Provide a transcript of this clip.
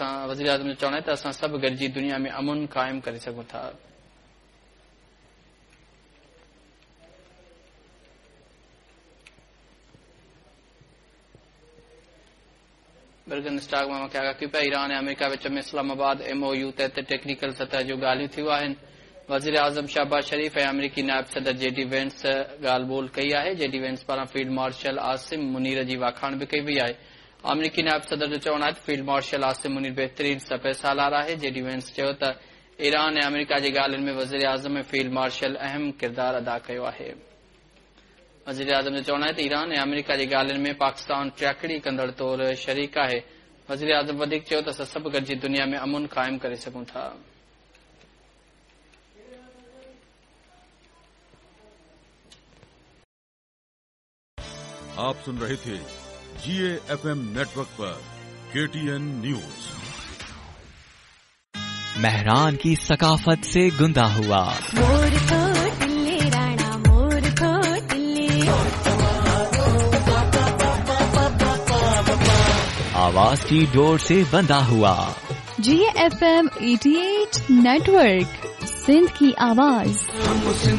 اسان वज़ीर-ए-आज़म जो चवणु आहे त असां सभु गॾिजी दुनिया में अमुन क़ाइमु करे सघूं था। बर्गन स्टॉक मां मूंखे आगाह कयो पिया ईरान ऐं अमेरिका विच में इस्लामाबाद एमओयू तहत टेक्निकल सतह जूं ॻाल्हियूं थियूं आहिनि। वज़ीर आज़म शहबाज शरीफ ऐं अमेरिकी नायब सदर जेडी वेंस ॻाल्हि ॿोल कई आहे। जेडी वेंस पारां फील्ड मार्शल आसिम मुनीर जी वाखाण बि कई वई आहे। अमेरिकी नायब सदर जो चवणु आहे त फील्ड मार्शल आसिम मुनीर बहितरीन सपह सालार आहे। जेडी वेंस चयो त ईरान ऐं अमेरिका जी ॻाल्हियुनि में वज़ीर आज़म ऐं फील्ड मार्शल अहम किरदारु अदा कयो आहे। वज़ीर आज़म जो चवणु आहे त ईरान ऐं अमेरिका जी ॻाल्हियुनि में पाकिस्तान टियाकड़ी कंदड़ तौरु शरीक आहे। वज़ीर आज़म वधीक चयो त असां सभु गॾिजी दुनिया में अमुन क़ाइमु करे सघूं था। आप सुन रहे थे जीएफएम नेटवर्क पर केटीएन न्यूज। मेहरान की सकाफत से गुंदा हुआ मोर को टिल्ले राणा मोर को टिल्ले, आवाज की डोर से बंधा हुआ जीएफएम 88 नेटवर्क सिंध की आवाज।